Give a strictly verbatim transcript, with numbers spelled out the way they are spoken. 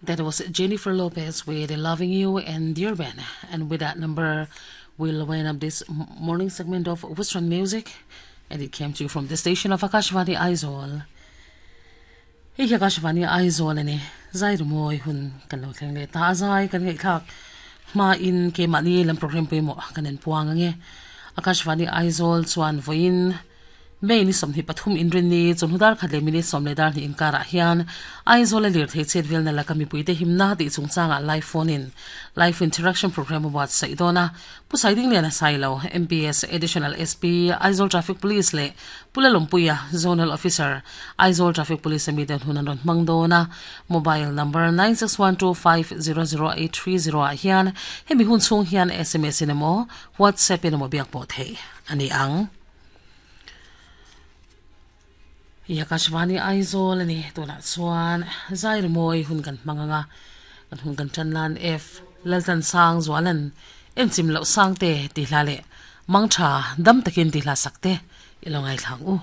That was Jennifer Lopez with Loving You and Dear Ben. And with that number, we'll wind up this morning segment of Western music. And it came to you from the station of Akashvani Aizawl. Hei hi Akashvani Aizawl ani zai rimawi hun kan lo thleng leh ta a zai kan ngaihthlak hma in keimahni lam program pawimawh kan en puang ange Akashvani Aizawl chuan vawiin May ni sawmhnih pathum inrinni chawhnu dar khat leh minute sawm leh dar hnih inkarah hian Aizawl a lirthei chet velna laka mipuite himna tih chungchangah live phone in live interaction program a buatsaih dawn a. Pu Saidinglian a sai lo, M P S Additional S P, Aizawl Traffic Police leh Pu Lalawmpuia, Zonal Officer, Aizawl Traffic Police a miten hun an rawn hmang dawn a. Mobile number nine six one two five zero zero eight three zero ah hian hemi hun chhung hian S M S in emaw WhatsApp in emaw biak pawh theih a ni ang. I Akashvani Aizawl a ni. Tunah chuan zai rimawi hun kan hmang anga kan hun kan tan lan F Laltan Sang Zualan enchim loh sang te tih hla leh mang tha dam takin tih hla sak te i lo ngaithlang u.